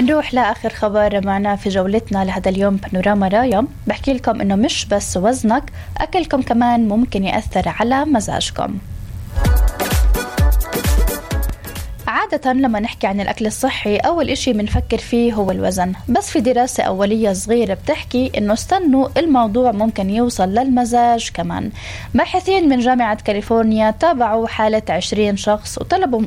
نروح لآخر خبر معنا في جولتنا لهذا اليوم بانوراما رايا. بحكي لكم إنه مش بس وزنك، أكلكم كمان ممكن يأثر على مزاجكم. عادة لما نحكي عن الأكل الصحي أول إشي منفكر فيه هو الوزن، بس في دراسة أولية صغيرة بتحكي إنه استنوا الموضوع ممكن يوصل للمزاج كمان. باحثين من جامعة كاليفورنيا تابعوا حالة 20 شخص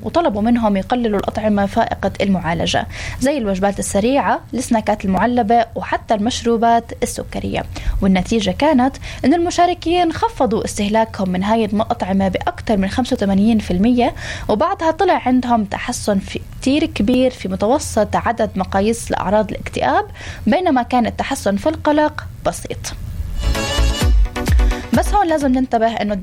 وطلبوا منهم يقللوا الأطعمة فائقة المعالجة زي الوجبات السريعة، السناكات المعلبة وحتى المشروبات السكرية، والنتيجة كانت إن المشاركين خفضوا استهلاكهم من هاي الأطعمة بأكثر من 85%، وبعدها طلع عندهم تحسن كتير كبير في متوسط عدد مقاييس لأعراض الاكتئاب، بينما كان التحسن في القلق بسيط. بس هون لازم ننتبه إنه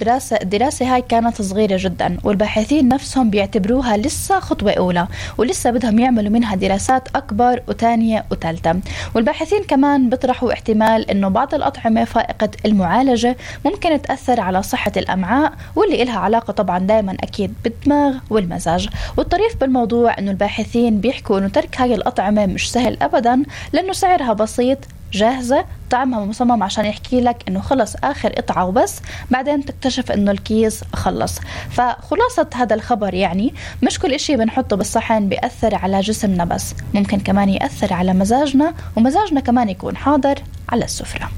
الدراسة هاي كانت صغيرة جدا، والباحثين نفسهم بيعتبروها لسه خطوة أولى، ولسه بدهم يعملوا منها دراسات أكبر وتانية وثالثة. والباحثين كمان بيطرحوا احتمال إنه بعض الأطعمة فائقة المعالجة ممكن تأثر على صحة الأمعاء، واللي إلها علاقة طبعا دائما أكيد بالدماغ والمزاج. والطريف بالموضوع إنه الباحثين بيحكوا إنه ترك هاي الأطعمة مش سهل أبدا، لأنه سعرها بسيط، جاهزة، طعمها مصمم عشان يحكي لك إنه خلص آخر قطعة وبس، بعدين تكتشف إنه الكيس خلص. فخلاصة هذا الخبر يعني مش كل إشي بنحطه بالصحن بيأثر على جسمنا، بس ممكن كمان يأثر على مزاجنا، ومزاجنا كمان يكون حاضر على السفرة.